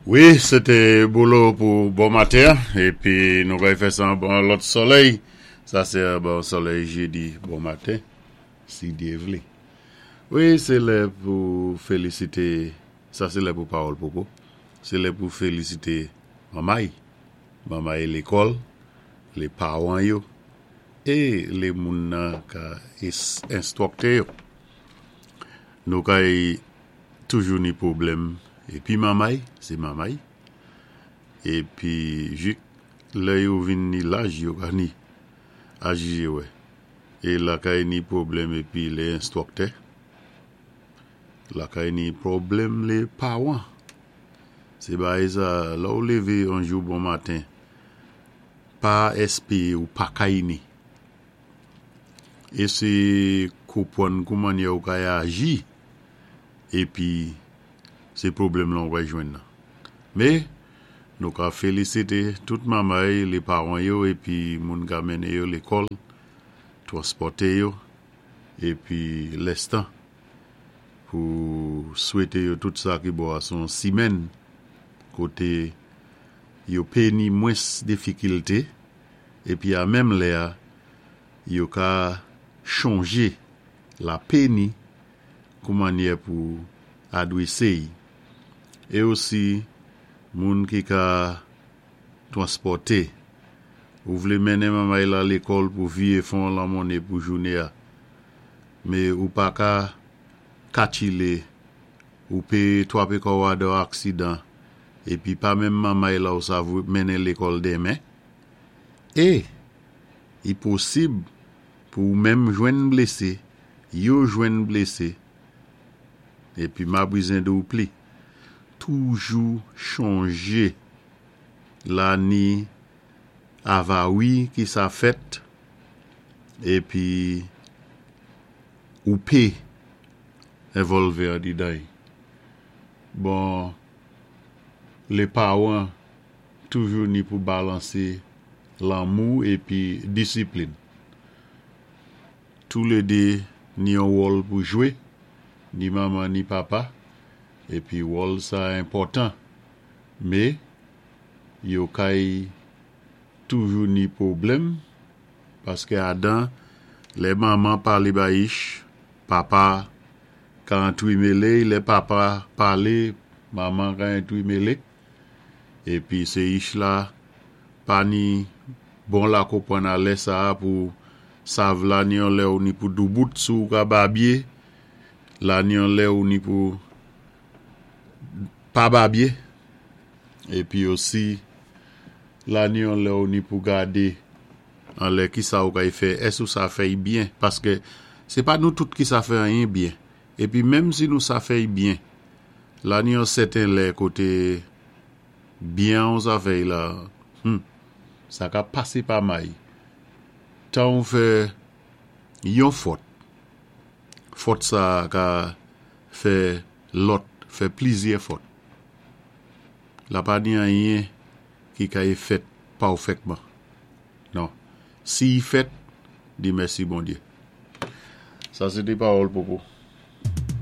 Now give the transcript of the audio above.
Wi, sé té Bolo pou bon maten an, épi nou kay fè sa anba yon lòt solèy. Sa sé anba yon solèy jédi bon maten, si Dyé vlé. Wi, sé lè pou félisité, sa sé lè pou pawòl popo, sé lè pou félisité manmay, manmay lékòl, lé pawan yo, é lé moun nan ka enstwòkté yo. Nou kay toujou ni pwoblèm epi mamay se mamay epi jik lè yo vin ni laj yo ka ni ajije wè e lakay ni pwoblèm epi le enstwòktè lakay ni pwoblèm le pawan se bagay sa lè ou leve yon jou bon maten pa espere ou pa kay ni Eseye konpwann kou mannyè ou kay aji epi se pwoblèm lan ou kay jwenn nan. Me, nou ka felisite tout mamay, le paran yo epi moun ka mennen yo lekòl, twanspòte yo epi lèstan pou swete yo tout sa ki bon a son simèn kote yo pe ni mwens difikilte epi a menm lè a yo ka chonje lapé ni kou mannyè pou adwese y e osi moun ki ka twanspòte ou vle mennen manmay la lekòl pou viye fon lanmonne pou joune a me ou pa ka katchile ou pe twape kò w adò aksidan epi pa menm manmay la ou sa mennen lekòl denmen E, i posib pou ou menm jwenn blese, yo jwenn blese, epi mabrizen di w pli. Toujou chonje la ni avawi ki sa fèt, epi ou pe envòlve andidan y. Bon, le paran Toujou ni pou balanse lanmou epi disiplin. Toulede ni yon wòl pou jwe, ni manman ni papa, epi wòl sa enpòtan. Me, yo kay toujou ni pwoblèm, paske adan lè manman pale bayich, papa ka antwimele, lè papa pale, manman ka entwimele. Epi se ich la pa ni bon la konprann a lè sa a pou sav la ni yon lè ou ni pou doubout sou ou ka babye la ni yon lè ou ni pou pa babye epi osi la ni yon lè ou ni pou gade anlè kisa ou kay fè èske ou sa fèy byen paske se pa nou tout ki sa fè anyen byen epi menm si nou sa fèy byen La ni yon sèten lè kote byen ou sa fèy la humm sa ka pase pa may tan ou fè yon fòt fòt sa ka fè lòt fè plizyè fòt la pa ni anyen ki ka e fèt pawfèkman non si y fèt di mèsi Bondye sa se te pawòl popo.